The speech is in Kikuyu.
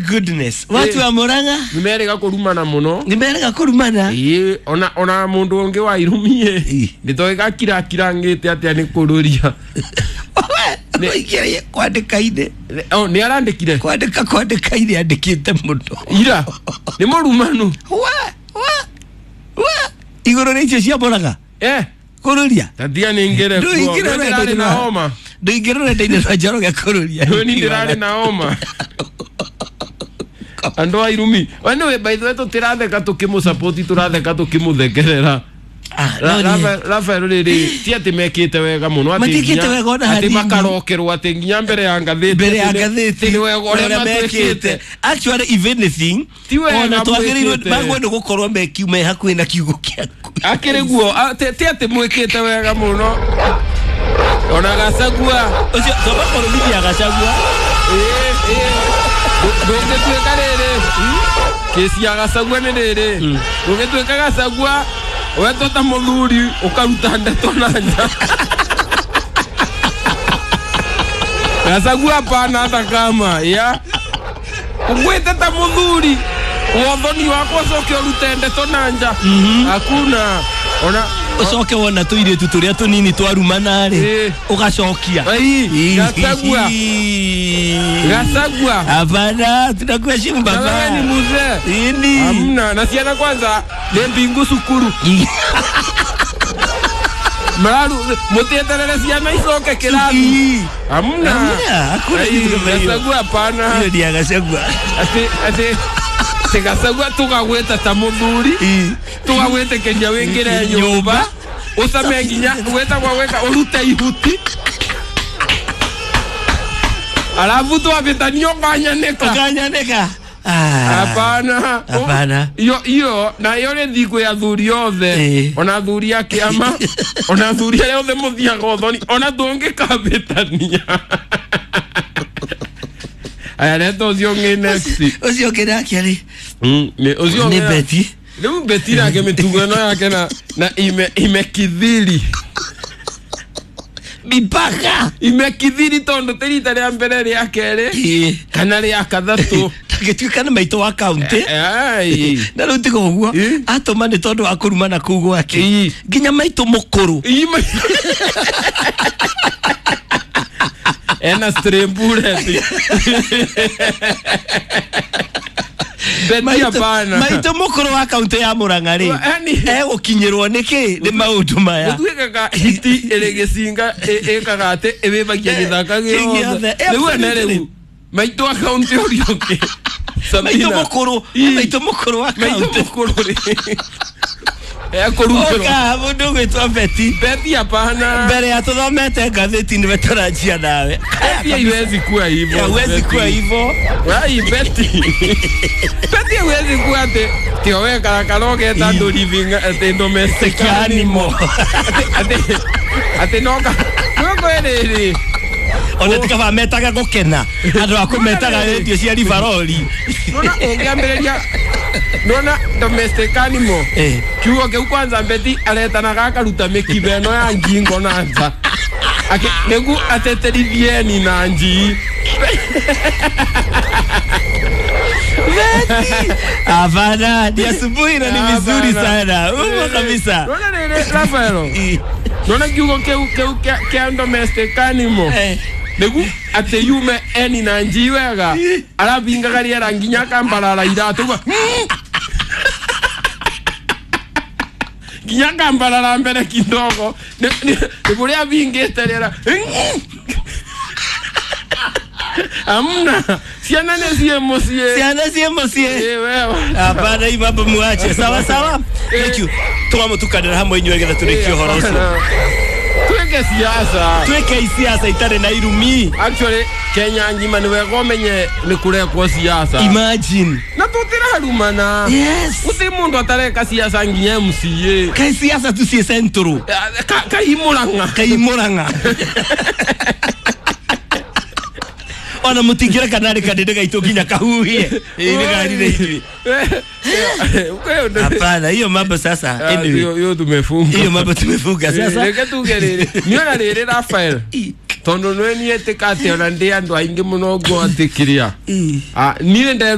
goodness, watu wa Murang'a nimerega kurumana muno. Nimerega kurumana. Ii, ona mundu ungi wa irumie nitoe gakira kirangite atia ni kururia. Oigire kwandika ine. Oh, ni arandikire. Kwandika ine andikite muno. Ira ni murumanu. Wa iguru ni icio cia Murang'a. Kururia. Tatia ni ngere kuo. Ndirarĩ na homa. Nduingire rũrenda-inĩ rwa Njoroge kururia. Ni ndirarĩ na homa. Andũ a irumi. Anyway, by the way, tũtiratheka tũkĩmũsupport, tũratheka tũkĩmũthekerera. Rafael rĩrĩ ti atĩ mekĩte wega mũno, atĩ makarokerwo atĩ nginya mbere ya ngathĩti. Mbere ya ngathĩti nĩ wega ũrĩa mekĩte. Actually, if anything, ona twagĩrĩirwo magwo nĩ gũkorwo me hakuhĩ na kiugo kĩaku. Akĩrĩ guo ti atĩ mwĩkĩte wega mũno. Ona Gachagua ũcio twamba kũrũmithia Gachagua. Ndũngĩtuĩka rĩrĩ kĩci ya Gachagua nĩ rĩrĩ, ndũngĩtuĩka Gachagua wetwo ta mũthuri ũkaruta ndeto na nja. Gachagua hapana, hata kama ya ũgwĩte ta mũthuri wothoni wakwa ũcoke ũrute ndeto na nja, hakuna. Ona ucoke wona tuiritu turia tunini twarumana ri ugacokia. Gachagua. Gachagua. Hapana, tunakuheshimu baba. Wewe ni mzee. Ini. Hamna, na ciana kwanza ni mbingu cukuru. Mararu mutieterere ciana icoke kirathi. Hamna. Hakuna kitu kama hiyo. Gachagua hapana. Hiyo ni ya Gachagua. Ati Gachagua tugagweta ta muthuri. Tugagwĩtĩkĩria wĩingĩre nyũmba ũcame nginya wĩtagwo wĩka ũrute ihuti alafu twabĩtania ũkanyanĩka. Ũkanyanĩka. Hapana. Hapana. Iyo na iyo nĩ thikũ ya athuri othe, ona athuri a kĩama, ona athuri arĩa othe mũthiaga ũthoni, ona tũngĩkabĩtania. Aya, reta ũcio ũngĩ next. Ũcio ũngĩ nake rĩ? Ũcio nĩ Betty. Rĩu Betty nake mĩtugo ĩno yake na imekithiri. Mipaka. Imekithiri tondũ ti rita rĩa mbere rĩa kerĩ kana rĩa kathatũ. Tagĩtuĩka nĩ maitũ wa kaunti. Na rĩu tiga ũguo atũma nĩ tondũ wa kũrumana kũu gwake nginya maitũ mũkũrũ. Ena strembure. Maitũ mũkũrũ wa kaunti ya Murang'a rĩ egũkinyĩrwo nĩkĩ nĩ maũndũ maya? Gũtuĩkaga hiti ĩrĩ gĩcinga ĩkaga atĩ ĩwĩbagia gĩthaka gĩothe. Rĩu ene rĩu maitũ wa kaunti ũrĩa ũngĩ. Maitũ mũkũrũ, maitũ mũkũrũ wa kaunti. Maitũ mũkũrũ rĩ. Ekũrutĩrwo. Oka mũndũ ũgwĩtwo Betty. Betty hapana. Mbere ya tũthomete ngathĩti nĩwe tũranjia nawe. Betty haiwezi kuwa hivyo. Haiwezi kuwa hivyo. Wai Betty. Betty haiwezi kuwa ati tio we karakaro geta andũ living ati domestic animal. Ati noka. Noko rĩrĩ. Ona tikaba metaga gũkena. Andũ a kũmetaga radio cia Rivaroli. Nona ũngĩambĩrĩria nona domestic animal. Kiugo kĩu kwanza Betty aretanaga akaruta mĩkiba ĩno ya ngingo na nja. Nĩguo ateterithieni na njii. Betty. Hapana, ni asubuhi na ni vizuri sana. Umo kabisa. Nona rĩrĩ Rafaelo. Nona kiugo kĩu kĩa domestic animal. Nĩguo atĩ yume eni na njii wega. Arabingaga rĩera nginya akambarara iratũ ũguo. Nginya akambarara mbere kidogo. Nĩ kũrĩa abingĩte rĩera. Hamna. Ciana nĩ ciĩ mũciĩ. Ciana ciĩ mũciĩ. Hapana, hii mambo muache. Sawa sawa. Thank you. Tũgamũtukanĩra hamwe inyuĩ nĩgetha tũrĩkie ũhoro ũcio. Twĩke siasa. Twĩke siasa itarĩ na irumi. Actually, Kenya ngima nĩ wega ũmenye nĩ kũrekwo siasa. Imagine. Na tũtirarumana. Yes. Gũtirĩ mũndũ atareka siasa nginya MCA. Kai siasa tu ciĩ central. Kai Murang'a. Kai Murang'a. Ona mũtingĩreka narĩ kanĩndĩ gaitũ nginya kahuhie. Ĩĩ nĩ garire ithuĩ. Hapana, hiyo mambo sasa. Anyway, hiyo tumefunga. Hiyo mambo tumefunga sasa. Reke tuge rĩrĩ. Nĩona rĩrĩ Rafael. Tondũ nĩwe niĩ ĩtĩka atĩ ona ndĩ andũ aingĩ mũno ngo atĩ kĩrĩa. Niĩ